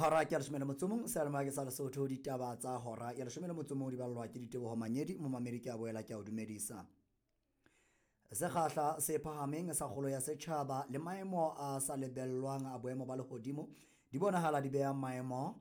Hora ke ya 11, seyalemoya ke sa Lesotho. Ditaba tsa hora ya 11 di ballwa ke Diteboho Manyedi. Momamedi, ke a boela ke a o dumedisa. Sekgahla se phahameng sa kgolo ya setjhaba le maemo a sa lebellwang a boemo ba lehodimo di bonahala di beha maemo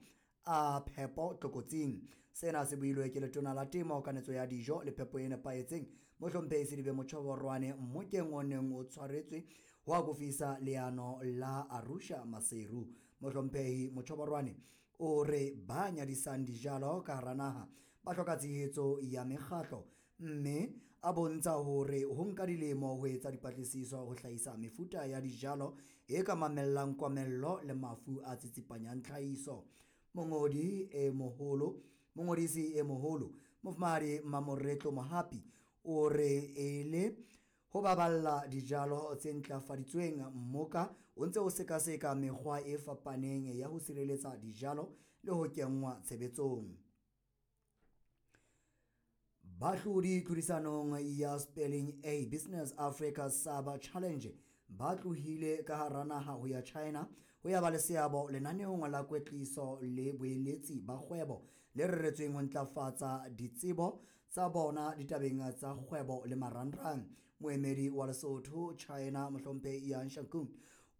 a phepo tlokotsing. Sena se builwe ke Letona la Temo, Kanetso ya Dijo le Phepo e Nepahetseng, Mohlomphehi Selibe Mochoboroane, mmokeng o neng o tshwaretswe ho akofisa leano la Arusha Maseru. Mohlomphehi Mochoboroane o re ba nyadisang dijalo ka hara naha ba hloka tshehetso ya mekgatlo, mme a bontsha hore ho nka dilemo ho etsa dipatlisiso ho hlahisa mefuta ya dijalo e ka mamellang komello le mafu a tsitsipanyang tlhahiso. Mongodi e moholo Mongodisi e moholo, Mofumahadi Mamoretlo Mohapi, o re e le ho baballa dijalo tse ntlafaditsweng, mmoka o ntse o sekaseka mekgwa e fapaneng ya ho sireletsa dijalo le ho kenngwa tshebetsong. Bahlodi tlhodisanong ya Spelling A Business Africa Saba Challenge ba tlohile ka hara naha ho ya China ho ya ba le seabo lenaneong la kwetliso le boeletsi ba kgwebo le reretsweng ho ntlafatsa ditsebo tsa bona ditabeng tsa kgwebo le marangrang. Moemedi wa Lesotho China, Mohlomphehi Yang Shangkun,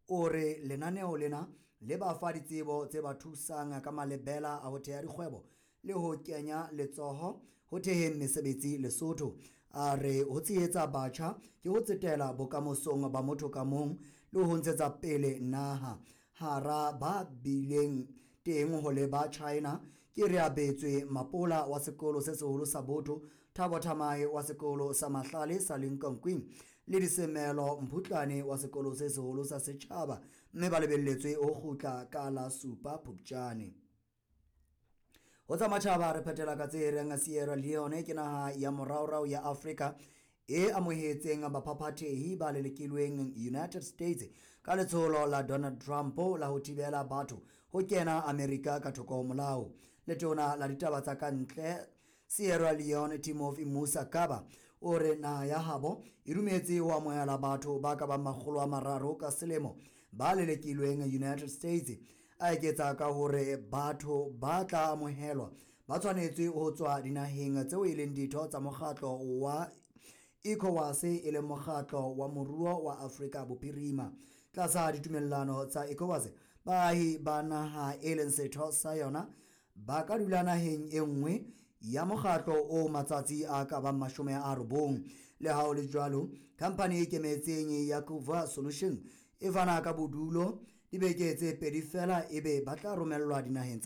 o re lenaneo lena le ba fa ditsebo tse ba thusang ka malebela a ho theha dikgwebo le ho kenya letsoho ho theheng mesebetsi Lesotho. A re ho tshehetsa batjha ke ho tsetela bokamosong ba motho ka mong le ho ntshetsa pele naha. Hara ba bileng teng ho leba China ke Reabetswe Mapola wa sekolo se seholo sa Botho, Thabo Thamae wa sekolo sa Mahlale sa Limkokwing le Disemelo Mphutlane wa sekolo se seholo sa Setjhaba, mme ba lebelletswe ho kgutla ka la 7 Phupjane. Ho tsa matjhaba re phethela ka tse reng Sierra Leone ke naha ya moraorao ya Afrika e amohetseng baphaphathehi ba lelekilweng United States ka letsholo la Donald Trump la ho thibela batho ho kena Amerika ka thoko ho molao. Letona la ditaba tsa kantle Sierra Leone, Timothy Musa Kaba, o re naha ya habo e dumetse ho amohela batho ba ka bang 300 ka selemo ba lelekilweng United States. A eketsa ka hore batho ba tla amohelwa ba tshwanetse ho tswa dinaheng tseo e leng ditho tsa mokgatlo wa ECOWAS, e leng mokgatlo wa moruo wa Afrika Bophirima. Tlasa ditumellano tsa ECOWAS, baahi ba naha e leng setho sa yona ba ka dula naheng e nngwe ya mokgatlo o matsatsi a ka bang 90. Le ha ho le jwalo, khampani e ikemetseng ya Kuva Solution e fana ka bodulo dibeke tse 2 feela, ebe ba tla romellwa dinaheng tsa